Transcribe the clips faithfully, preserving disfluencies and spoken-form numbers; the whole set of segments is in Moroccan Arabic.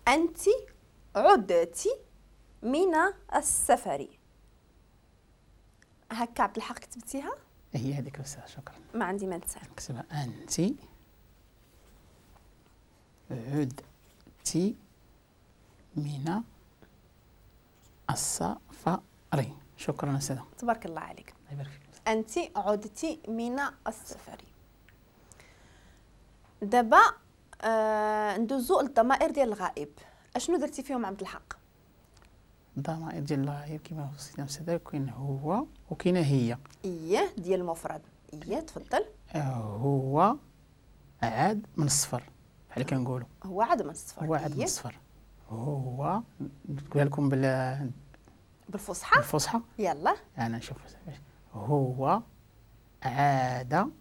أنت عدتي من السفر. هكا عبد الحق كتبتيها؟ هي هذيك أستاذة، شكرا. ما عندي ما نتسال. نكتبها أنت عدتي من السفر. شكرا أستاذة. تبارك الله عليك. الله يبارك فيك. أنت عدتي من السفر. دابا آه ندوزو للضمائر ديال الغائب. اشنو درتي فيهم عبد الحق؟ الضمائر ديال الغائب كما وصيتنا أستاذة كاين هو وكاينه هي. اييه ديال المفرد. اييه تفضل. هو عاد من الصفر بحال كنقولوا. هو عاد من الصفر. هو عاد من الصفر. هو نقولها لكم بال بالفصحى. بالفصحى يلا انا نشوف. هو عاد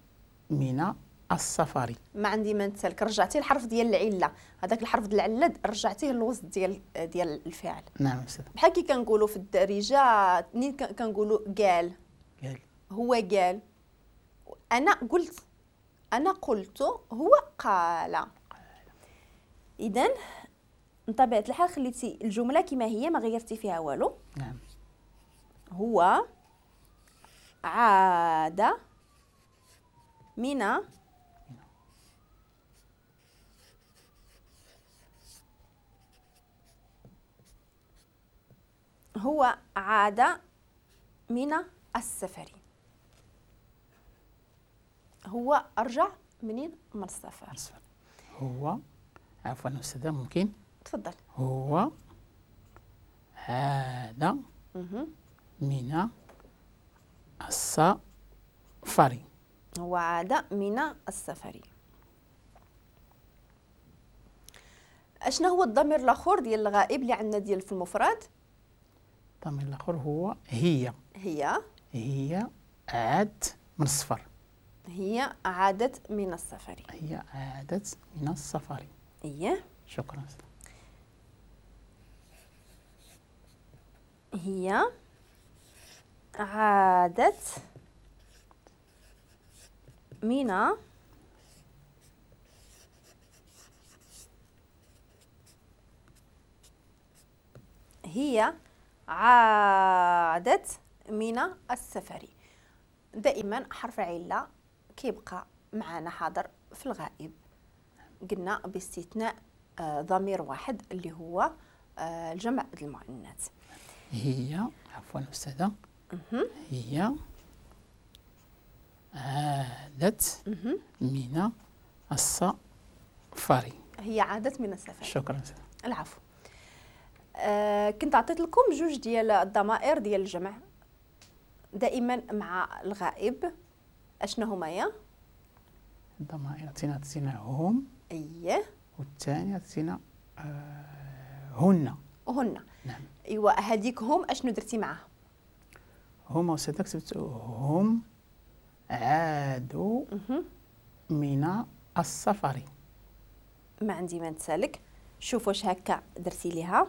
من السفر. ما عندي ما نتسالك، رجعتي الحرف ديال العلة، هذاك الحرف ديال العلة رجعتيه للوسط ديال ديال الفعل. نعم استاذ. بحال كي كنقولوا في الدارجة منين كنقولوا قال، قال هو قال، انا قلت، انا قلت، هو قال. اذا من طبيعة الحال خليتي الجملة كما هي، ما غيرتي فيها والو. نعم. هو عاد من هو عاد من السفر. هو أرجع منين؟ من السفر. هو عفوا أستاذة ممكن؟ تفضل. هو عاد من السفر. هو عاد من السفر. اشنا هو الضمير الاخر ديال الغائب اللي عندنا ديال في المفرد؟ الضمير الاخر هو هي. هي هي عادت من السفر. هي عادت من السفر. هي عادت من السفر. ايه شكرا. هي عادت من هي عادت من السفر. دائما حرف علة كيبقى معنا حاضر في الغائب، قلنا باستثناء ضمير واحد اللي هو الجمع المؤنث. هي عفوا أستاذة، هي عادت من السفر. هي عادت من السفر. شكرا. العفو. آه كنت عطيت لكم جوج ديال الضمائر ديال الجمع دائما مع الغائب، اشنو هما يا؟ الضمائر عطينا عطينا هم. اييه. والثاني عطينا آه هن. هن. نعم. ايوا هذيك هم اشنو درتي معاها؟ هم أستاذة كتبت هم عادوا من السفر. ما عندي ما نتسالك. شوف واش هكا درتي ليها.